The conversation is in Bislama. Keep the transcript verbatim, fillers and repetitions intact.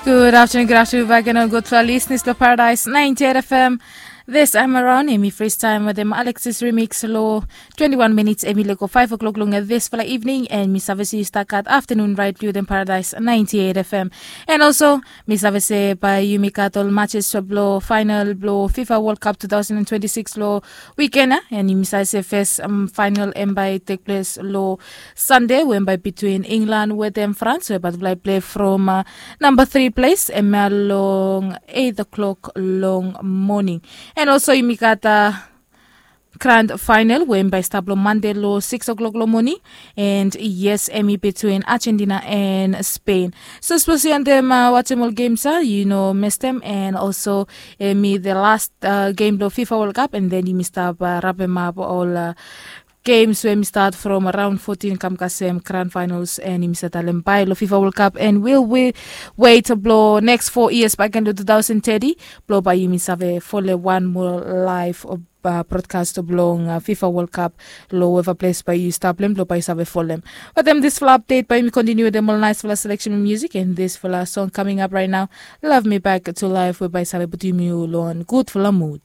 Good afternoon, good afternoon back and all good for listeners to Paradise ninety-eight F M. This time around, Amy Freestyle with them Alexis Remix Low. Twenty-one minutes, Amy Lego five o'clock long this for the evening, and Miss Avasi Stakat afternoon right through them Paradise ninety-eight F M. And also, Miss Avasi by Yumi Katol matches blow final blow FIFA World Cup two thousand and twenty-six low weekend, eh? And Miss Avasi first um, final and by take place low Sunday, when by between England with them France, where but play from uh, number three place, Emma long eight o'clock long morning. And also, Imikata grand final, when by start long Monday lo six o'clock long morning. And yes, Emmy between Argentina and Spain. So suppose you and them uh, watch them all games, uh, you know, miss them. And also, Emmy the last uh, game lo FIFA World Cup, and then you missed up, uh, wrap them up all. Uh, games wey mi start from round fourteen kam kasem grand finals, and yumi sa talem bai lo FIFA World Cup, and will we wait blo next four years back in the two thousand thirty blo bai yumi save follow one more live uh, broadcast blong uh, FIFA World Cup lo weva place bai yu stap lem blo bai yu save follow. But then this fla update bai yumi continue with them all nice fla selection music and this fla song coming up right now, Love Me Back to Life, whereby save put yumi lo on good fla mood.